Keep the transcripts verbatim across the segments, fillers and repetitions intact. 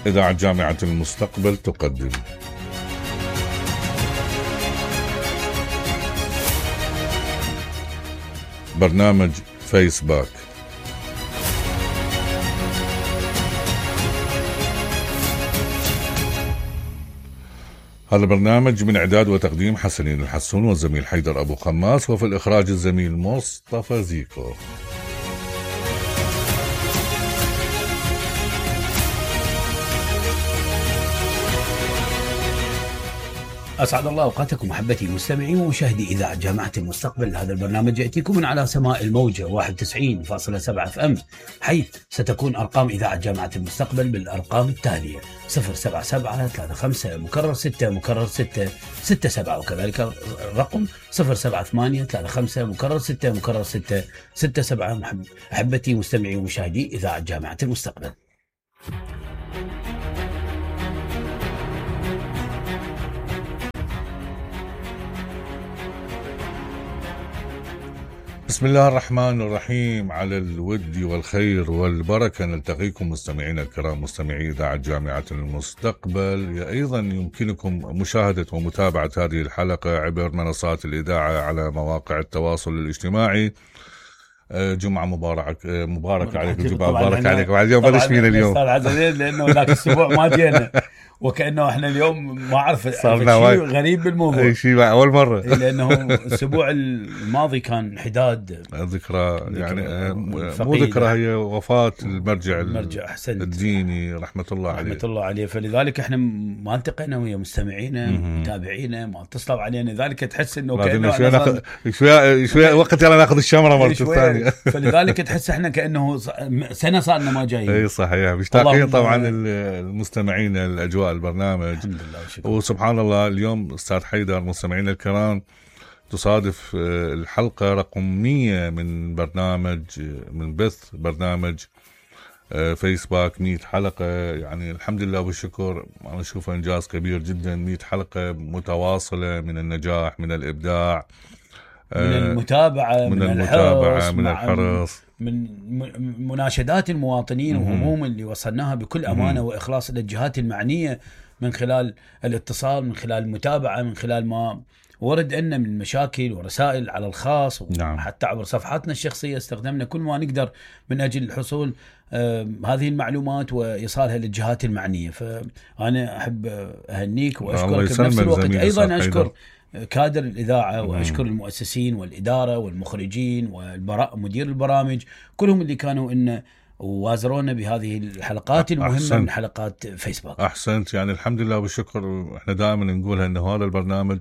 إذاعة جامعة المستقبل تقدم برنامج فيسباك. هذا البرنامج من إعداد وتقديم حسنين الحسون والزميل حيدر أبو خماس، وفي الإخراج الزميل مصطفى زيكو. أسعد الله أوقاتكم محبتي المستمعين ومشاهدي إذاعة جامعة المستقبل. هذا البرنامج يأتيكم من على سماء الموجة واحد وتسعين فاصلة سبعة اف ام، حيث ستكون أرقام إذاعة جامعة المستقبل بالأرقام التالية: صفر سبعة سبعة ثلاثة خمسة مكرر ستة مكرر ستة ستة سبعة، وكذلك رقم صفر سبعة ثمانية ثلاثة خمسة مكرر ستة مكرر ستة ستة سبعة. محبتي مستمعي ومشاهدي إذاعة جامعة المستقبل. بسم الله الرحمن الرحيم. على الود والخير والبركة نلتقيكم مستمعينا الكرام، مستمعي إذاعة جامعة المستقبل. أيضا يمكنكم مشاهدة ومتابعة هذه الحلقة عبر منصات الإذاعة على مواقع التواصل الاجتماعي. جمعة مبارك مبارك عليك، جمعة مبارك عليك. بعد اليوم بلش فينا اليوم لأنه ذاك الأسبوع ما جينا، وكأنه احنا اليوم ما اعرف شيء غريب بالموضوع، اي شيء اول مره، لانه الاسبوع الماضي كان حداد ذكرى، يعني مو ذكرى، هي وفاه المرجع المرجع الديني رحمه الله عليه رحمه الله عليه. فلذلك احنا ما التقينا ويا مستمعينا متابعينا، ما اتصلوا علينا، ذلك تحس انه كانه شوي ناخذ شوي شوي وقت يلا ناخذ الشمره مرة الثانيه. فلذلك تحس احنا كانه سنه صارنا ما جايين. اي صحيح، مشتاقين طبعا المستمعين الاجواء البرنامج. الحمد لله وشكرا. وسبحان الله اليوم أستاذ حيدر مستمعينا الكرام تصادف الحلقة رقم مية من برنامج من بث برنامج فيسباك. مية حلقة، يعني الحمد لله والشكر، أنا أشوفه إنجاز كبير جدا. مية حلقة متواصلة من النجاح، من الإبداع، من المتابعة، من, من المتابعة الحرص، من الحرص، من مناشدات المواطنين وهموم اللي وصلناها بكل أمانة وإخلاص إلى الجهات المعنية، من خلال الاتصال، من خلال المتابعة، من خلال ما ورد لنا من مشاكل ورسائل على الخاص، وحتى عبر صفحاتنا الشخصية استخدمنا كل ما نقدر من أجل الحصول آه هذه المعلومات وإيصالها للجهات المعنية. فأنا أحب أهنيك وأشكرك بنفس الوقت. أيضا أشكر كادر الإذاعة وأشكر المؤسسين والإدارة والمخرجين ومدير البرامج، كلهم اللي كانوا إن ووازرونا بهذه الحلقات المهمة أحسنت. من حلقات فيسبوك. أحسنت، يعني الحمد لله والشكر. احنا دائما نقولها إنه هذا البرنامج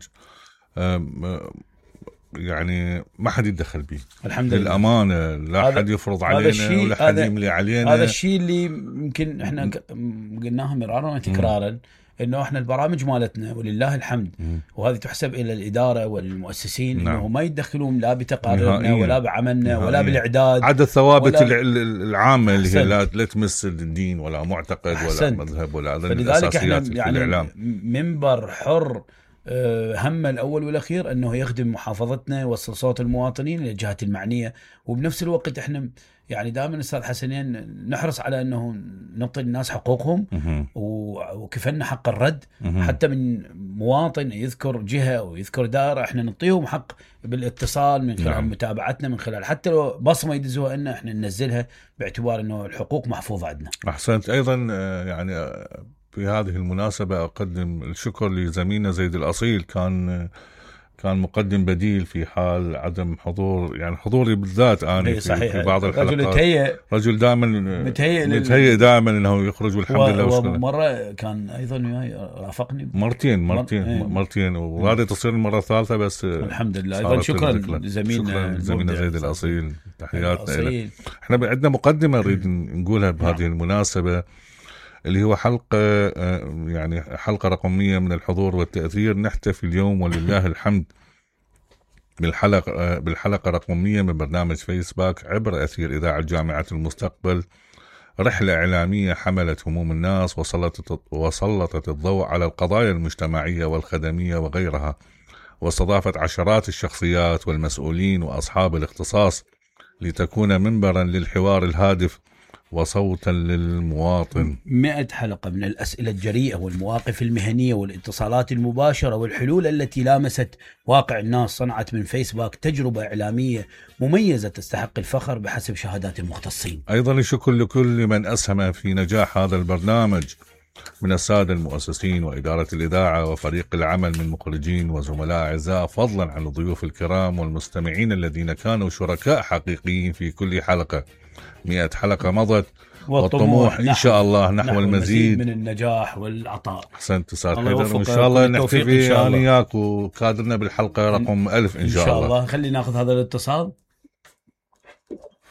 يعني ما حد يتدخل به، الحمد لله، للأمانة. لا حد يفرض علينا ولا حد يملي علينا. هذا الشيء اللي يمكن احنا قلناها مرارا وتكرارا، انه احنا البرامج مالتنا ولله الحمد، م. وهذه تحسب الى الاداره والمؤسسين، نعم. انه ما يتدخلون لا بتقاريرنا ولا بعملنا نهائيا. ولا بالاعداد، عدا الثوابت ولا... العامه اللي هي لا, لا تمس الدين ولا معتقد أحسن. ولا مذهب ولا هذا. فلذلك احنا يعني الإعلام. منبر حر، همه الأول والأخير أنه يخدم محافظتنا، يوصل صوت المواطنين للجهات المعنية. وبنفس الوقت إحنا يعني دائما أستاذ حسنين نحرص على أنه نعطي الناس حقوقهم وكفلنا حق الرد. حتى من مواطن يذكر جهة أو يذكر دائرة، إحنا نعطيهم حق بالاتصال من خلال نعم. متابعتنا، من خلال حتى لو بصمة يدزوها إن إحنا ننزلها، باعتبار أنه الحقوق محفوظة عندنا. أحسنت. أيضا يعني في هذه المناسبة أقدم الشكر لزميلنا زيد الأصيل، كان كان مقدم بديل في حال عدم حضور، يعني حضوري بالذات أنا في, في بعض الحلقات. رجل متهيئ، رجل دائما متهيئ متهيئ دائما انه يخرج، والحمد لله. ومرة كان ايضا رافقني مرتين مرتين مر... مرتين وهذه تصير المرة الثالثة بس. الحمد لله. ايضا شكرا لزميلنا زميلنا زيد الأصيل، تحياتنا له. احنا عندنا مقدمة نريد نقولها بهذه المناسبة، اللي هو حلقة يعني حلقة رقمية من الحضور والتأثير. نحتفي اليوم ولله الحمد بالحلقة بالحلقة رقمية من برنامج فيسباك عبر أثير إذاعة جامعة المستقبل. رحلة إعلامية حملت هموم الناس وسلطت وسلطت الضوء على القضايا المجتمعية والخدمية وغيرها، واستضافت عشرات الشخصيات والمسؤولين وأصحاب الاختصاص لتكون منبرا للحوار الهادف وصوتا للمواطن. مئة حلقة من الأسئلة الجريئة والمواقف المهنية والاتصالات المباشرة والحلول التي لامست واقع الناس صنعت من فيسبوك تجربة إعلامية مميزة تستحق الفخر بحسب شهادات المختصين. أيضا الشكر لكل من أسهم في نجاح هذا البرنامج من السادة المؤسسين وإدارة الإذاعة وفريق العمل من مخرجين وزملاء أعزاء، فضلا عن الضيوف الكرام والمستمعين الذين كانوا شركاء حقيقيين في كل حلقة. مئة حلقة مضت والطموح إن شاء الله نحو, نحو المزيد من النجاح والعطاء. أحسنت أستاذ حيدر، وإن شاء الله نحتفي أنا وياك وكادرنا بالحلقة رقم ألف إن شاء الله. إن شاء الله. خلينا ناخذ هذا الاتصال.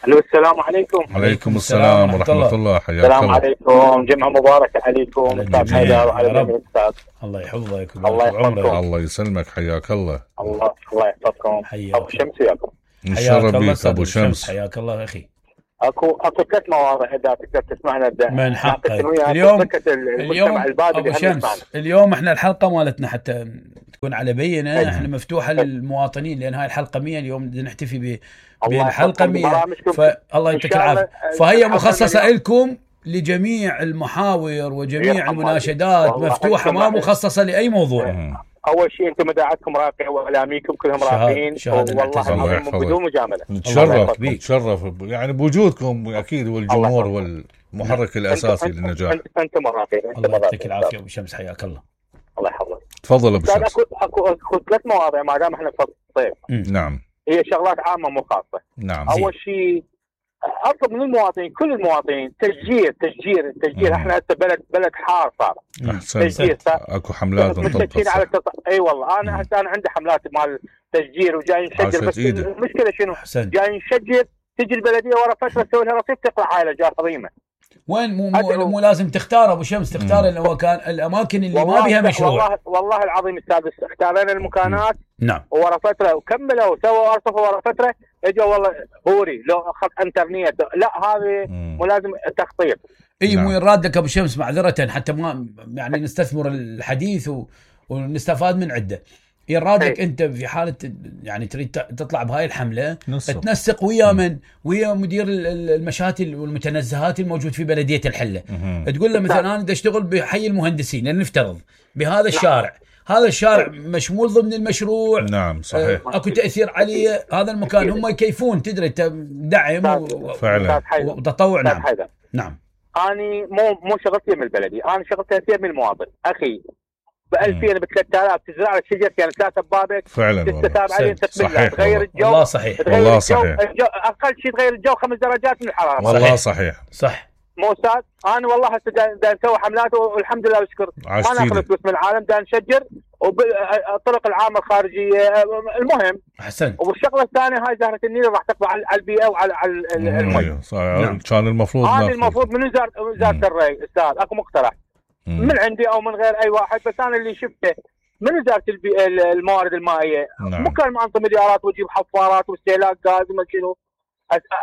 الو السلام عليكم. عليكم السلام ورحمة الله, الله. حياك السلام الله. عليكم، جمعة مباركة عليكم أستاذ حيدر وعلى الأستاذ. الله يحفظك. الله يحفظكم. الله يسلمك، حياك الله. الله الله يحفظكم. أبو شمس وياكم. نشرب بيك أبو شمس. حياك الله أخي. اكو اكو ثلاث مواضيع اذا تقدر تسمعنا من حقك اليوم. اليوم ابو شمس اليوم احنا الحلقه مالتنا حتى تكون على بينه أيه. احنا مفتوحه للمواطنين لان هاي الحلقه مية اليوم بدنا نحتفي بالحلقه مية، فالله يعطيك العافيه. فهي مخصصه لكم لجميع المحاور وجميع المناشدات، مفتوحه ما مخصصه لاي موضوع. أه. اول شيء انتم مداعتكم راقيه واعلاميكم كلهم راقيين والله العظيم بدون مجامله. نتشرف نتشرف يعني بوجودكم اكيد، والجمهور والمحرك الاساسي انت للنجاح. انتم انتم راقيين. الله يعطيك العافيه ابو شمس، حياك الله. الله يحفظك. تفضل ابو شمس. اكو اكو اكو ثلاث مواضيع ما دام احنا في الصيف. نعم. هي شغلات عامه مو خاصه. نعم. اول شيء اطلب من المواطنين، كل المواطنين، تشجير تشجير التشجير. احنا هسه بلد بلد حار صار. تشجير اكو حملات متشجرين على التص... اي أيوة والله انا هسه انا عندي حملات مال تشجير وجاي نشجر، بس المشكله شنو؟ حسن. جاي نشجر تجي البلديه ورا فتره تسوي لها رصيف تطلع هاي الاشجار عظيمه. وين مو مو, مو لازم تختار ابو شمس، تختار اللي هو كان الاماكن اللي ما بيها مشروع. والله والله العظيم استاذ اختارنا المكانات. نعم. ورا فتره وكملوا وسووا ارصفه ورا فتره اجوا والله هوري لو خط انترنت. لا هذه مو لازم تخطيط. اي مو يراد لك ابو شمس معذره حتى ما يعني نستثمر الحديث و... ونستفاد من عده. يرادك انت في حاله يعني تريد تطلع بهاي الحمله نصف. تنسق ويا من ويا مدير المشاتل والمتنزهات الموجود في بلديه الحله. مم. تقول له مثلا انا بدي اشتغل بحي المهندسين، لنفترض بهذا الشارع، هذا الشارع مشمول ضمن المشروع. نعم صحيح. اكو تاثير عليه هذا المكان، هم يكيفون تدري دعم فعلا وتطوع. نعم نعم. اني مو مو شغلتي من البلدي، انا شغلتي من المواطن. اخي ب ألفين ب ثلاثة آلاف تزرع لك شجر يعني ثلاثة ببابك فعلا تستتاب عليه تكمل تغير الجو. والله صحيح والله صحيح. اقل شيء تغير الجو خمس درجات من الحراره. والله صحيح صح. مو استاذ انا والله هسه دا نسوي حملات والحمد لله والشكر ما ناخذ فلوس من العالم، دا نشجر وبالطرق العامه الخارجيه. المهم احسن. والشغله الثانيه هاي زهره النيل راح تقضي على البيئه وعلى على المي. نعم. كان المفروض هذا المفروض من وزاره وزاره الري استاذ. اكو مقترح مم. من عندي او من غير اي واحد، بس انا اللي شفته من وزاره الموارد المائيه. نعم. مو كان انظم مليارات وتجيب حفارات واستهلاك غاز وما شنو.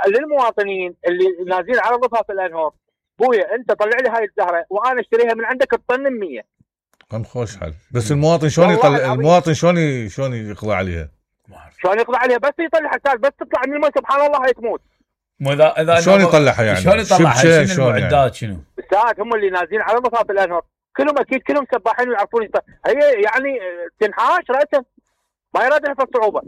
للمواطنين اللي نازلين على ضفاف الانهار، بويا انت طلع لي هاي الزهره وانا اشتريها من عندك الطن مية. كم خوش حل. بس المواطن شلون يطلع؟ المواطن شلون شلون يقضي عليها؟ شلون يقضي عليها؟ بس يطلع حساب بس تطلع من الماء سبحان الله هي تموت. مو اذا اذا شلون يطلعها يعني؟ شلون يطلعها؟ شنو المعدات شنو؟ الساعات هم اللي نازلين على ضفاف الانهار كلهم اكيد كلهم سباحين ويعرفون. هي يعني تنحاش راسا ما يراد لها الصعوبه.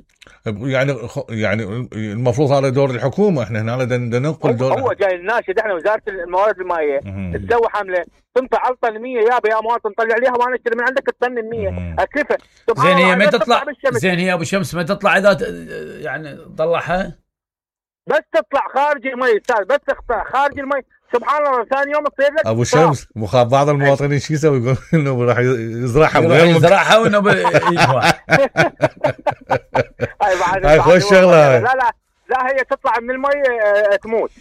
يعني يعني المفروض هذا دور الحكومه. احنا هنا بدنا ننقل دور. هو جاي الناشد احنا وزاره الموارد المائيه تسوي حمله تنطي على الطن مية يابا يا مواطن طلع عليها وانا اشتري من عندك الطن مية اكلفه. زين هي ما تطلع زين هي ابو شمس ما تطلع اذا يعني طلعها بس تطلع خارج المي استاذ، بس تطلع خارج المي سبحان الله ثاني يوم تصير لك ابو شمس. مخاف بعض المواطنين شو يسوي؟ يقول انه راح يزرعها بغير يزرعها وانه ب... هاي خوش شغله. لا لا لا هي تطلع من المي تموت.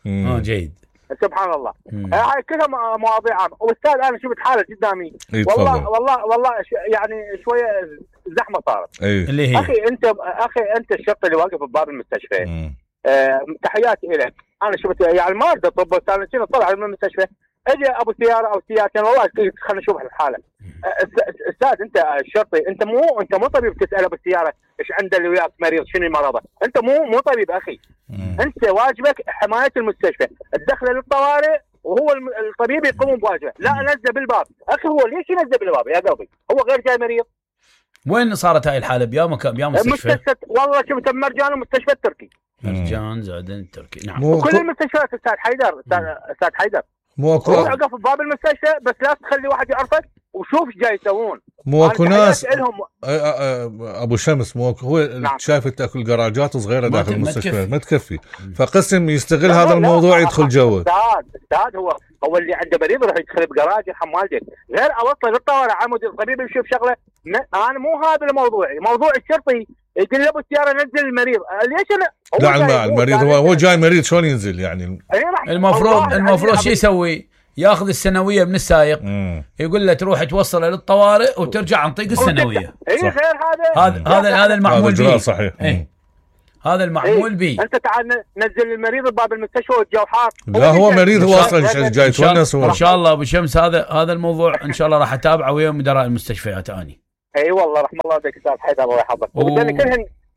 اه جيد سبحان الله. هاي كلها مواضيع عامه. واستاذ انا شفت حاله قدامي والله والله والله يعني شويه زحمه صارت. اللي هي اخي انت اخي انت الشرطي اللي واقف بباب المستشفى. آه تحياتي لك. انا شفت يعني ما اريد اطب بس انا شنو طلع من المستشفى اجى ابو سياره او سيارتين والله خلينا نشوف الحاله. استاذ انت الشرطي انت مو انت مو طبيب تسال ابو السياره ايش عنده اللي وياك مريض شنو مرضه، انت مو مو طبيب اخي. مم. انت واجبك حمايه المستشفى، الدخله للطوارئ وهو الطبيب يقوم بواجبه، لا نزل بالباب، اخي هو ليش ينزل بالباب يا قلبي؟ هو غير جاي مريض. وين صارت هاي الحاله؟ بيا مكان بيا مستشفى؟ مستشفى والله شفت مرجان ومستشفى التركي. مرجان زادن التركي نعم. وكل المستشفيات استاذ حيدر استاذ حيدر مو اكو وقف بباب المستشفى بس لا تخلي واحد يعرفك وشوف ايش جاي يسوون. مو اكو ناس ابو شمس مو هو نعم. شايف انت اكو الجراجات صغيره داخل المستشفى ما تكفي، فقسم يستغل هذا الموضوع يدخل جوه. استاذ استاذ هو هو اللي عنده مريض يروح يدخل بجراج يرحم والدك، غير اوصل للطوارئ عمود الطبيب يشوف شغله. انا مو هذا الموضوع، موضوع الشرطي يقول له ابو السياره نزل المريض، ليش انا لا المريض هو هو جاي مريض شلون ينزل يعني؟ المفروض المفروض شو يسوي؟ ياخذ السنويه من السائق، يقول له تروح توصله للطوارئ وترجع عن طريق السنويه. اي غير هذا هذا هذا هذا المعمول به صحيح. اي هذا المعمول به. انت تعال نزل المريض بباب المستشفى والجو حار. لا هو مريض هو اصلا جاي يتونس. ان شاء الله ابو شمس هذا هذا الموضوع ان شاء الله راح اتابعه ويا مدراء المستشفيات اني. اي والله رحم الله بك استاذ حيدر الله يحفظك.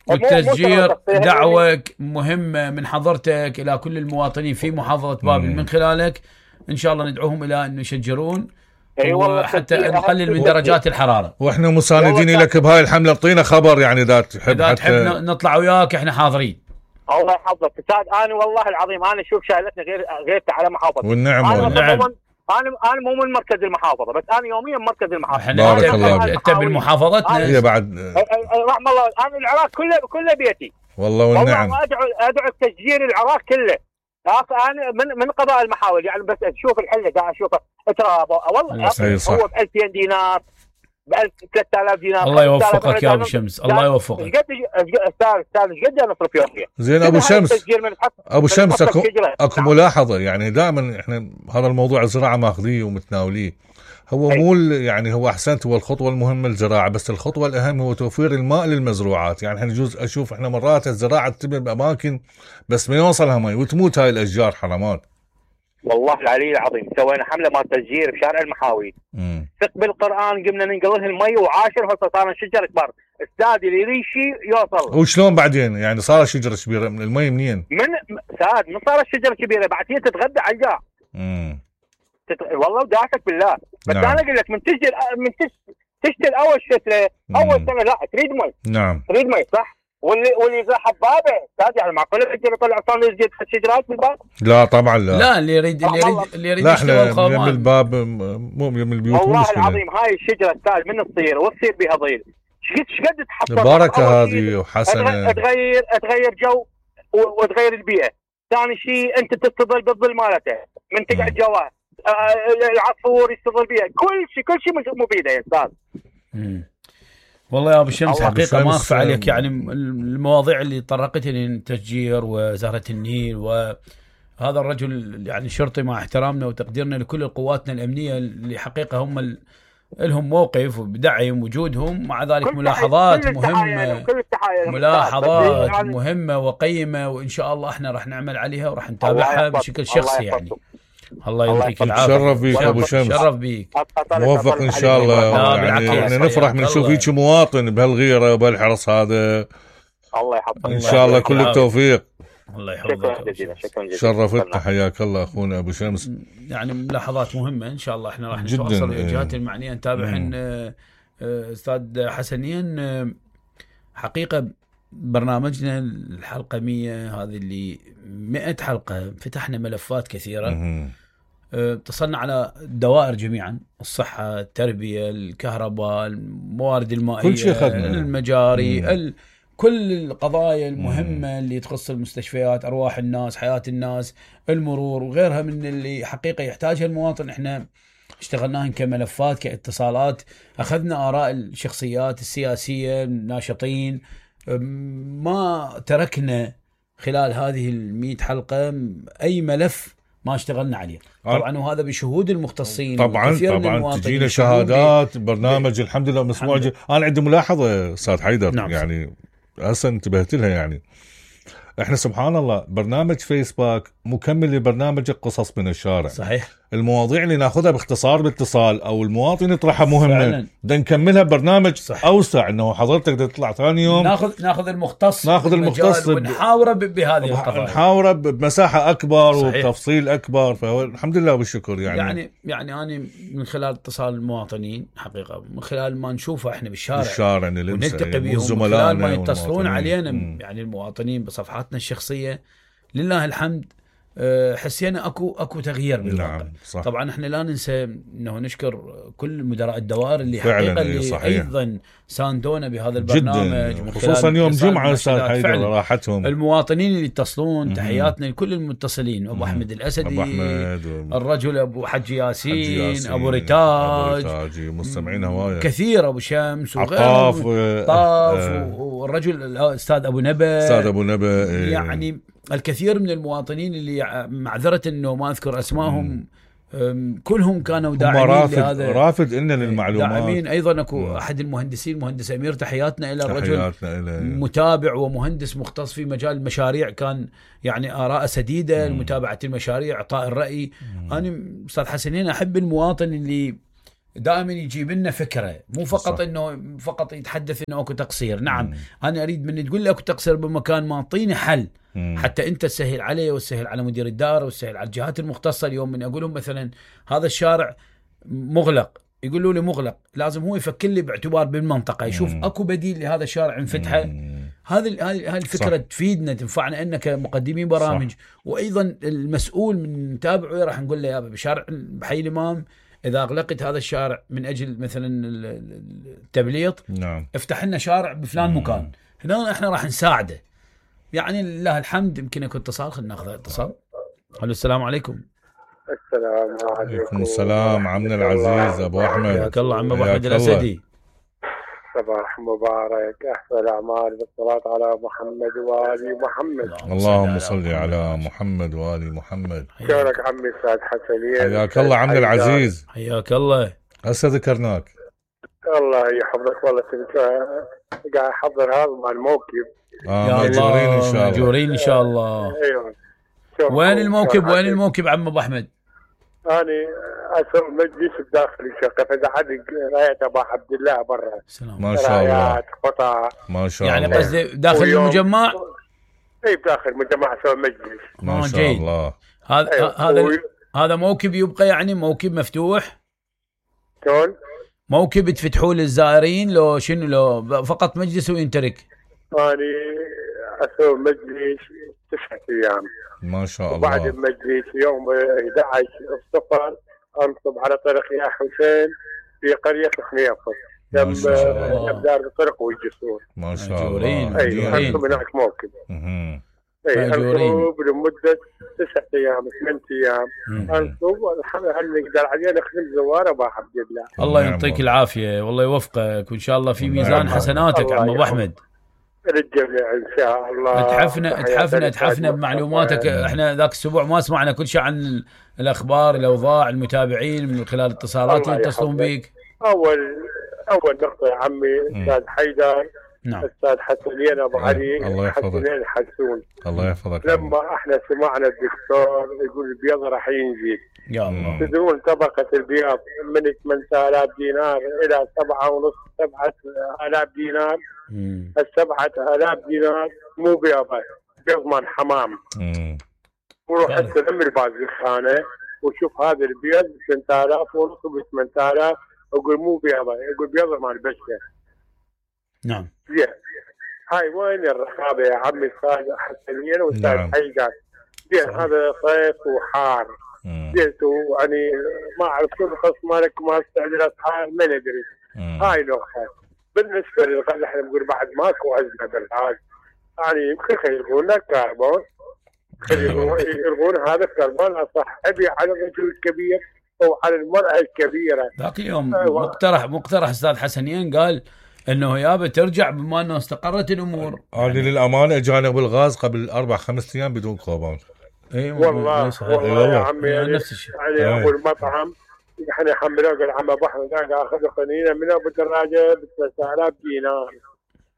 والتشجير دعوة مهمة من حضرتك إلى كل المواطنين في محافظة بابل من خلالك إن شاء الله ندعوهم إلى أن يشجرون أيوة حتى نقلل من درجات الحرارة. وإحنا مساندين لك بهاي الحملة، اعطينا خبر يعني إذا تحب إذا تحب نطلع وياك إحنا حاضرين. الله يحفظك استاذ. أنا والله العظيم أنا شوف شايلتني غير غير على محافظة والنعم والنعم. انا انا مو من مركز المحافظه بس انا يوميا مركز المحافظه. بارك الله انت بالمحافظتنا هي بعد رحم الله. انا العراق كله كله بيتي والله والنعم. والله ادعو ادعو تشجير العراق كله. انا من من قضاء المحاول يعني بس اشوف الحله قاعد اشوفه تراب والله هو ب ألفين دينار ب ثلاثة آلاف دينار. الله يوفقك يا ابو شمس الله يوفقك. قد استاذ استاذ قد انا اصرف يوميا. زين ابو شمس ابو شمس اكو اكو ملاحظه يعني دائما احنا هذا الموضوع الزراعه ماخذيه ومتناوليه. هو مو يعني هو احسنت هو الخطوه المهمه الزراعه، بس الخطوه الاهم هو توفير الماء للمزروعات. يعني احنا يجوز اشوف احنا مرات الزراعه تتم باماكن بس ما يوصلها مي وتموت هاي الاشجار حرامات. والله العلي العظيم سوينا حمله مال تشجير بشارع المحاوي. ثق بالقران قمنا ننقل لها المي وعاشر هسه صار شجر كبار. استاذ اللي يريد شيء يوصل. وشلون بعدين يعني صار شجره كبيره من المي منين؟ من استاذ من صارت شجره كبيره بعدين تتغدى على الجار. امم تت... والله وداعتك بالله بس نعم. انا اقول لك من تشتري من تشتري اول شتله اول سنه لا تريد مي. نعم تريد مي صح. واللي واللي يزرع حبابه استاذ يعني معقوله يقدر يطلع صار يزيد الشجرات بالباب؟ لا طبعا لا. لا اللي يريد اللي يريد اللي يريد يشتغل خامان. من الباب مو من البيوت. والله العظيم هاي الشجره استاذ من تصير وتصير بها ظل ايش قد تحصل البركه هذه وحسنه تغير تغير جو وتغير البيئه. ثاني شيء انت تستظل بالظل مالته من تقعد جواه العصفور يستظل بها كل شيء كل شيء مفيده يا استاذ. والله يا ابو شمس حقيقه ما اخفى عليك يعني المواضيع اللي طرقتني التشجير وزهره النيل وهذا الرجل يعني شرطي مع احترامنا وتقديرنا لكل قواتنا الامنيه اللي حقيقه هم ال... لهم موقف وبدعم وجودهم. مع ذلك ملاحظات مهمه ملاحظات مهمه وقيمه وان شاء الله احنا راح نعمل عليها وراح نتابعها بشكل شخصي يعني. الله يعطيك العافيه. شرف بيك ابو شمس. شرف بيك موفق ان شاء الله. يعني احنا نفرح من نشوف هيك مواطن بهالغيره وبهالحرص هذا. الله يحفظك ان شاء الله كل التوفيق. الله يحفظك. شكرا جزيلا شكرا جزيلا. شرفتنا حياك الله اخونا ابو شمس. يعني ملاحظات مهمه ان شاء الله احنا راح نتواصل ويا الجهات المعنيه نتابعهن. استاذ حسنين حقيقه برنامجنا الحلقه مية هذه اللي مئة حلقه فتحنا ملفات كثيره. اتصلنا على الدوائر جميعا الصحه التربيه الكهرباء الموارد المائيه كل شيء خدنا. المجاري ال... كل القضايا المهمه اللي تخص المستشفيات ارواح الناس حياه الناس المرور وغيرها من اللي حقيقه يحتاجها المواطن. احنا اشتغلناهن كملفات كاتصالات اخذنا اراء الشخصيات السياسيه الناشطين ما تركنا خلال هذه المئة حلقة أي ملف ما اشتغلنا عليه طبعا وهذا بشهود المختصين طبعا طبعا تجينا شهادات برنامج الحمد لله مسموع. أنا عندي ملاحظة أستاذ حيدر نعم. يعني هسه انتبهت لها يعني احنا سبحان الله برنامج فيسباك مكمل لبرنامجك قصص من الشارع. صحيح. المواضيع اللي ناخذها باختصار باتصال او المواطن يطرحها مهمه بدنا نكملها برنامج صح. اوسع انه حضرتك تطلع ثاني يوم ناخذ ناخذ المختص ناخذ المختص ونحاوره بهذه القضايا، نحاوره بمساحه اكبر صحيح. وبتفصيل اكبر. فالحمد لله والشكر. يعني يعني يعني انا من خلال اتصال المواطنين حقيقه، من خلال ما نشوفه احنا بالشارع بالشارع ونلتقي بهم، من خلال ما يتصلون علينا م. يعني المواطنين بصفحاتنا الشخصيه، لله الحمد حسينا اكو اكو تغيير بالواقع. نعم صح. طبعا احنا لا ننسى انه نشكر كل مدراء الدوائر اللي حقيقه اللي صحيح. ايضا ساندونا بهذا البرنامج من خصوصا يوم جمعه استاذ حيدر راحتهم. المواطنين اللي يتصلون تحياتنا لكل المتصلين، ابو احمد الاسدي، أبو أحمد و... الرجل ابو حجي ياسين, حجي ياسين ابو ريتاج, أبو ريتاج مستمعين هوايه كثير، ابو شمس وغيرهم طاف آه والرجل الاستاذ ابو نبا استاذ ابو نبا يعني الكثير من المواطنين اللي معذرة انه ما اذكر اسمائهم كلهم كانوا داعمين رافد لهذا رافد إن للمعلومات داعمين. ايضا اكو م. احد المهندسين مهندس امير تحياتنا الى الرجل إلى متابع ومهندس مختص في مجال المشاريع، كان يعني آراء سديده لمتابعه المشاريع، اعطاء الراي. م. انا استاذ حسنين احب المواطن اللي دائما يجيب لنا فكره، مو فقط صح. انه فقط يتحدث انه اكو تقصير. نعم م. انا اريد من تقول لي اكو تقصير بمكان ما اعطيني حل م. حتى انت تسهل علي وتسهل على مدير الدار وتسهل على الجهات المختصه. اليوم من اقول لهم مثلا هذا الشارع مغلق، يقولوا لي مغلق، لازم هو يفكر لي باعتبار بالمنطقه يشوف م. اكو بديل لهذا الشارع نفتحه. هذه هذه الفكره صح. تفيدنا تنفعنا انك مقدمين برامج صح. وايضا المسؤول من متابعه راح نقول له يا بشارع بحي الامام إذا أغلقت هذا الشارع من أجل مثلا التبليط نعم. افتح لنا شارع بفلان مكان، هنا احنا راح نساعده. يعني لله الحمد. يمكن يكون اتصال، خلينا ناخذ اتصال. الو السلام عليكم. السلام عليكم. السلام عمنا العزيز ابو احمد. حياك الله عم ابو احمد الاسدي. صباح مبارك، احسن الاعمال بالصلاه على محمد وآل محمد. اللهم صل على محمد وآل محمد. شكرك عمي استاذ حسنين. حياك الله عمنا العزيز. حياك الله. هسه ذكرناك. الله يحفظك. والله كنت قاعد احضر هذا مع الموكب. اه ماجورين ان شاء الله. ماجورين ان شاء الله. ايوه. وين الموكب وين الموكب عم ابو احمد؟ أنا أسوي مجلس بداخل الشقة، فإذا حد رايت أبو عبد الله برا. ما شاء الله. قطع. ما شاء يعني الله. يعني قصدي داخل المجمع؟ أي بداخل المجمع أسوي مجلس. ما شاء الله. هذا أيوة. هذا و... هذا موكب يبقى يعني موكب مفتوح؟ شلون؟ موكب تفتحوه للزائرين لو شنو لو فقط مجلس وينترك؟ أنا أسوي مجلس تسعة أيام. ما شاء الله. وبعد المجلس يوم أحد عشر الصفر أنصب على طريق يا حسين في قرية خنيفر جنب جنب دار الطرق والجسور. ما شاء الله. أي أنصب هناك موكب. اها. أي أنصب لمدة تسعة أيام ثمانية أيام أنصب والحمد لله نقدر عليه نخدم زوار أبو عبد الله. الله يعطيك العافية والله يوفقك وإن شاء الله في ميزان حسناتك عم أبو أحمد. للجميع ان شاء الله. اتحفنا اتحفنا اتحفنا بمعلوماتك. احنا ذاك الاسبوع ما سمعنا كل شيء عن الاخبار الاوضاع المتابعين من خلال اتصالات اللي يتصلون بيك. اول اول نقطه يا عمي استاذ حيدر. نعم. استاذ حسنين ابو علي. الله يحفظك. حسنين حسون. الله يحفظك. لما احنا سمعنا الدكتور يقول البيض راح ينزل. يا الله. تدرون طبقه البيض من ثمانية آلاف دينار الى سبعة ونص سبعة آلاف دينار. السبعة آلاف دينار مو بيضة، بيضمن حمام. وروح استلم البازخانة وشوف هذا البيض ب ثمانية آلاف ونص ب ثمانية آلاف، اقول مو بيضة، يقول بيضة مال بشر. نعم. زين. هاي وين الرقابة يا عمي استاذ حسنين واستاذ نعم. حيدر؟ زين هذا صيف وحار. زين يعني ما اعرف شو القص مالك ما استعجلت حار ما ندري. هاي نقطة. بالنسبه للغاز احنا نقول بعد ماكو ازمه بالغاز، يعني يمكن يلغون الكربون، يلغون هذا الكربون الصحي على الرجل الكبير او على المراه الكبيره. ذاك اليوم مقترح مقترح استاذ حسنين قال انه يابا ترجع بما انه استقرت الامور. هذه للامانه اجانا بالغاز قبل اربع خمس ايام بدون كربون. اي والله والله يا عمي يعني نفس الشيء. يعني ابو المطعم احنا حملوه قال عم ابو احمد اخذ قنينه من ابو الدراجه ب ثلاثة آلاف دينار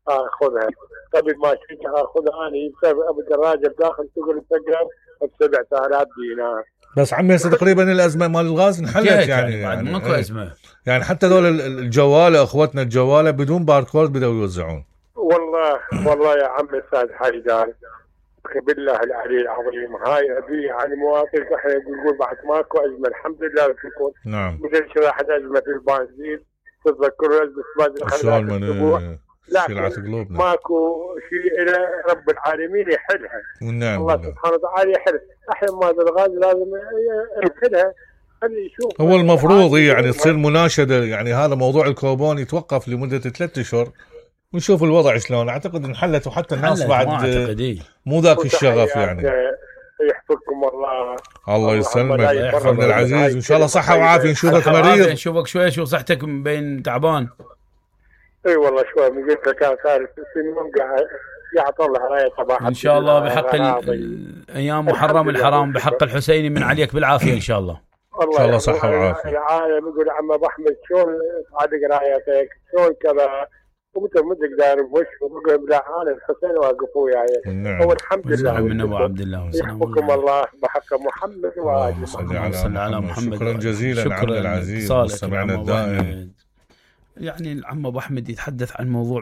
اخذها قبل ما كنت اخذها انا بسبب ابو الدراجه بداخل سوق الفقر بسبعة آلاف دينار. بس عمي هسه تقريبا الازمه مال الغاز انحلت يعني يعني, يعني ماكو ازمه. يعني حتى دول الجواله اخوتنا الجواله بدون باركود بدأوا يوزعون. والله والله يا عمي استاذ حيدر بالله العلي العظيم هاي ابي يعني مواطن احنا نقول بعد ماكو ازمه الحمد لله تكون. نعم. مثل شرحت ازمه البنزين تتذكروا ازمه شلون من سلعه قلوبنا ماكو شيء الى رب العالمين يحلها. والنعم الله سبحانه وتعالى يحل. احنا ما الغاز لازم يحلها. هو المفروض يعني تصير مناشده يعني هذا موضوع الكوبون يتوقف لمده ثلاثة اشهر ونشوف الوضع شلون. اعتقد انحلت وحتى الناس بعد مو ذاك الشغف يعني. يحفظكم الله. الله يسلمك يحفظنا العزيز وان شاء الله صحه وعافيه. نشوفك مريض نشوفك شوي شو صحتك بين تعبان. اي والله شوي من قلت لك كان صار سنين قاعد يعطون العرايه صباح ان شاء الله بحق الايام محرم الحرام بحق الحسيني من عليك بالعافيه ان شاء الله. ان شاء الله صحه وعافيه. العالم يقول عم ابو احمد شلون صادق رايتك شلون كذا وانت ما تقدر وش بقول لا انا الحسين واقف وياي. هو الحمد لله من ابو عبد الله يحفظكم الله بحق محمد اللهم صل على محمد. شكرا جزيلا عبد العزيز مستمعنا الدائم. يعني العم ابو احمد يتحدث عن موضوع